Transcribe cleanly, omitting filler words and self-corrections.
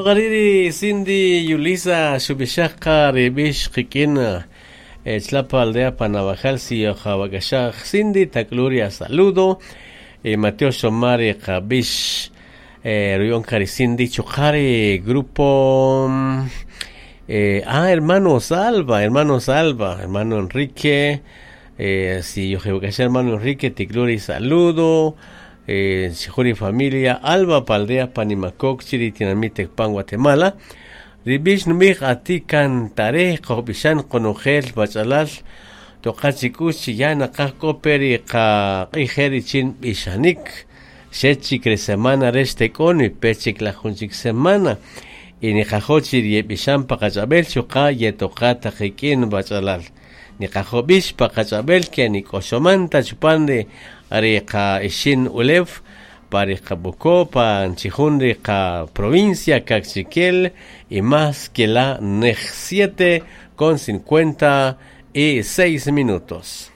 Toqariri Cindy Yulisa xub'ixaj ri b'ix qik'in Chlapa aldea Panabajal si Wakashaj Cindy Tacluria saludo Mateo Xomari qab'ix Ruyon Kari Cindy Chuqari grupo hermano Salva hermano Salva hermano Enrique si hermano Enrique Ticluri saludo Sijuri familia Alba Paldea Panimacoc Chiri Tinamite Pan Guatemala Ribix numij ati cantare qojb'ixan qonojel bachalal toqachikuch ya naqaj k'operi qa q'ijeri chin b'ixanik xechik ri semana rex tek'on y pechik la junchik semana y niqajochi yeb'ixan paqach'ab'el chuqa yetoqa taqik'in bachalal niqajob'ix paqach'ab'el ke nik'oxomanta chupan ri qa ixin ulew pa Qabuco, pa Chijun qa provincia Caxiquel y más que la NEJ 7 con 56 minutos.